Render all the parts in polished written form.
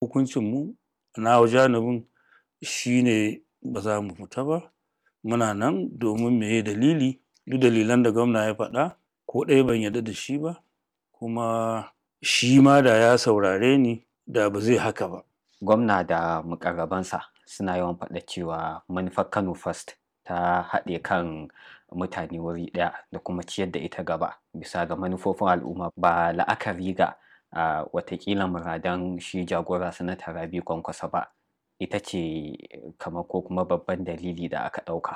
Hukuncinmu na janibin shi ne ba za mu fita ba. Muna nan domin meye dalili, duk dalilan da gwamna ya faɗa ko ɗaya ban yarda da shi ba. Kuma shi ma da ya saurare ni da ba zai haka ba. Gwamna da muƙarrabansa suna yawan faɗa cewa manufar Kano First ta haɗe kan mutane wuri ɗaya da kuma ciyar da ita gaba bisa ga manufofin al'umma ba la'akari ga watakila muradan shi jagora Sanata Rabi'u Kwankwaso ba. Ita ce kamar ko kuma babban dalili da aka ɗauka.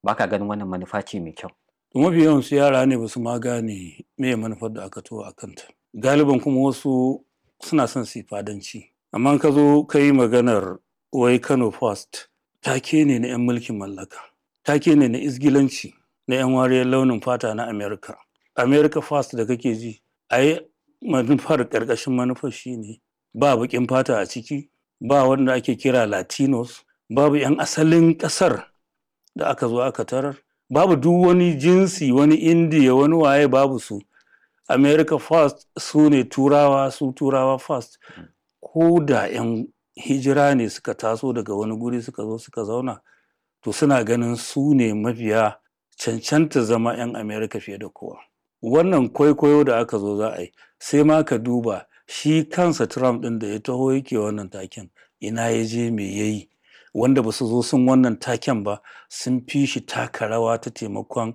Ba ka ganin wannan manufa ce mai kyau? Mafi yawansu yara ne ba su ma gane meye manufar da aka taho a kanta. Galiban kuma wasu suna son su yi fadanci. Amma in ka zo ka yi maganar wai Kano First, take ne na 'yan mulkin mallaka, take ne na izgilanci na 'yan wariyar launin fata na America. America First da kake ji, ai manufar ƙarƙashin manufar shi ne ba baƙin fata a ciki, ba wanda ake kira Latinos, babu 'yan asalin ƙasar da aka zo aka tarar, babu duk wani jinsi, wani Indiya, wani waye babu su. America First su ne Turawa, su Turawa First. Ko da 'yan hijira ne suka taso daga wani guri suka zo suka zauna, to suna ganin su ne mafiya cancanta zama 'yan America fiye da kowa. Wannan kwaikwayo da aka zo za a yi, sai ma ka duba shi kansa Trump ɗin da ya taho yake wannan taken, ina ya je me ya yi? Wanda ba su zo sun wannan taken ba sun fi shi taka rawa ta taimakon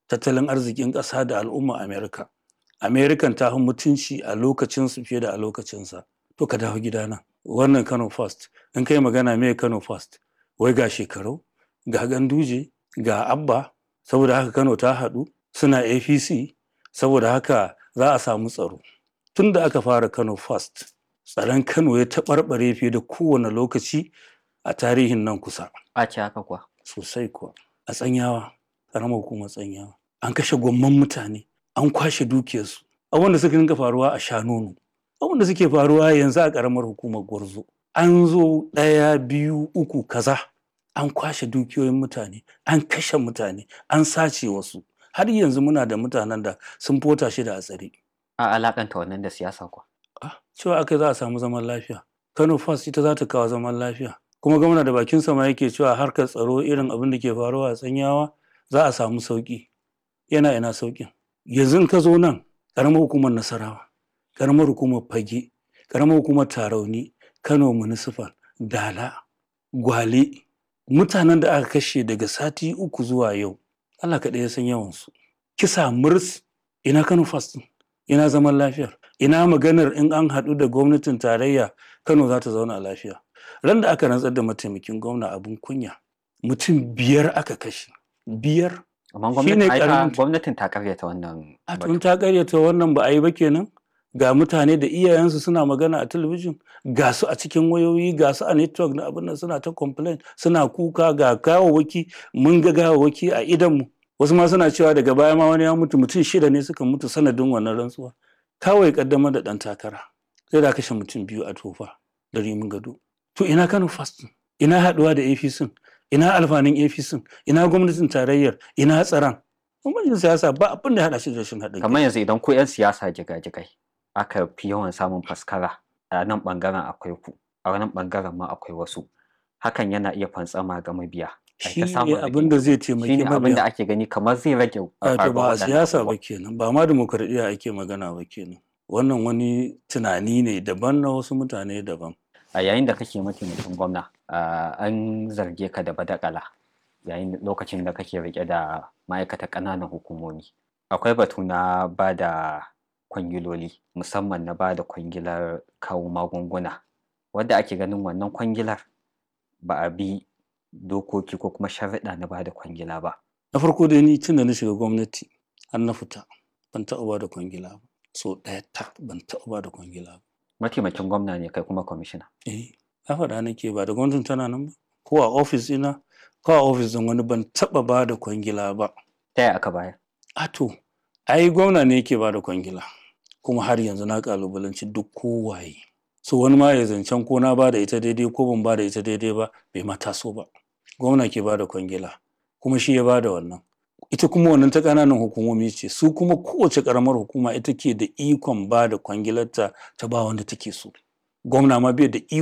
tattalin arzikin ƙasa da al'umma America. American ta fi mutunci a lokacinsu fiye da a lokacinsa. To ka dawo gidana. Wannan Kano First, in ka yi magana meye Kano First? Wai ga Shekarau, ga Ganduje, ga Abba, saboda haka Kano ta haɗu, suna APC, saboda haka za a samu tsaro. Tun da aka fara Kano First, tsaron Kano ya taɓarɓare fiye da kowane lokaci a tarihin nan kusa. A ce haka kuwa. Sosai kuwa. A Tsanyawa, ƙaramar hukumar Tsanyawa, an kashe gwamman mutane, an kwashe dukiyarsu. Abubuwan da suka dinga faruwa a Shanono, abubuwan da suke faruwa yanzu a ƙaramar hukumar Gwarzo. An zo ɗaya, biyu, uku, kaza. An kwashe dukiyoyin mutane, an kashe mutane, an sace wasu. Har yanzu muna da mutanen da sun fota shida a tsare. A alaƙanta wannan da siyasa kuwa. Ah, cewa aka yi za a samu zaman lafiya. Kano First ita za ta kawo zaman lafiya. Kuma gwamna da bakinsa ma yake cewa harkar tsaro irin abin da ke faruwa a Tsanyawa za a samu sauƙi. Yana ina sauƙin? Yanzu in ka zo nan, ƙaramar hukumar Nasarawa, ƙaramar hukumar Fage, ƙaramar hukumar Tarauni, Kano Municipal, Dala, Gwale, mutanen da aka kashe daga sati uku zuwa yau, Allah kaɗai ya san yawansu. Kisa murs, ina Kano First ɗin? Ina zaman lafiyar? Ina maganar in an haɗu da gwamnatin tarayya Kano za ta zauna lafiya? Ran da aka rantsar da mataimakin gwamna abin kunya, mutum biyar aka kashe. Biyar. Amma Shi ne gwamnati ai ta- ƙaramin gwamnatin ta karyata wannan A batu. tun ta karyata wannan ba a yi ba kenan. Ga mutane da iyayensu suna magana a talabijin, ga su a cikin wayoyi, ga su a network na abin nan suna ta complain, suna kuka ga gawawwaki, mun ga gawawwaki a idonmu. Wasu ma suna cewa daga baya ma wani ya mutu, mutum shida ne suka mutu sanadin wannan rantsuwa. Kawai kaddamar da ɗan takara. Sai da kashe mutum biyu a tofa da rimin gado. To ina Kano First ɗin? Ina haɗuwa da APC? Ina alfanun APC? Ina gwamnatin tarayyar? Ina tsaron? Bambancin siyasa ba abin da ya haɗa shi da rashin haɗin kai. Kamar yanzu idan ku 'yan siyasa jigajigai aka fi yawan samun faskara a nan ɓangaren akwai ku, a nan ɓangaren ma akwai wasu. Hakan yana iya fantsama ga mabiya. Ai Shi ta ne samun abin da rigingimu. zai Shi taimaki ne abin da mabiya. ake gani kamar zai rage Wato faruwar ba a waɗannan siyasa ba abubuwan. kenan, ba ma dimokuraɗiyya ake magana ba kenan. Wannan wani tunani ne daban na wasu mutane daban. A yayin da kake mataimakin gwamna, an zarge ka da badakala yayin lokacin da kake riƙe da ma'aikatar ƙananan hukumomi. Akwai batu na ba da kwangiloli, musamman na ba da kwangilar kawo magunguna, wadda ake ganin wannan kwangilar ba a bi dokoki ko kuma sharuɗa na ba da kwangila ba. Na farko dai ni tun da na shiga gwamnati har na fita ban taɓa ba da kwangila ba. So ɗaya tak ban taɓa ba da kwangila ba. Mataimakin gwamna ne kai kuma kwamishina. Eh, na faɗa nake ba da gwamnatin tana nan ba. Ko a ofis ɗina, ko a ofis ɗin wani ban taɓa ba da kwangila ba. Ta yaya aka bayar? A to, ai gwamna ne yake ba da kwangila. Kuma har yanzu na ƙalubalanci duk kowaye. So wani ma ya zancen ko na ba da ita daidai ko ban ba da ita daidai ba bai ma taso ba. Gwamna ke ba da kwangila kuma shi ya ba da wannan. Ita kuma wannan ta ƙananan hukumomi ce su kuma kowace ƙaramar hukuma ita ke da ikon ba da kwangilarta ta ba wanda take so. Gwamna ma bai da iko.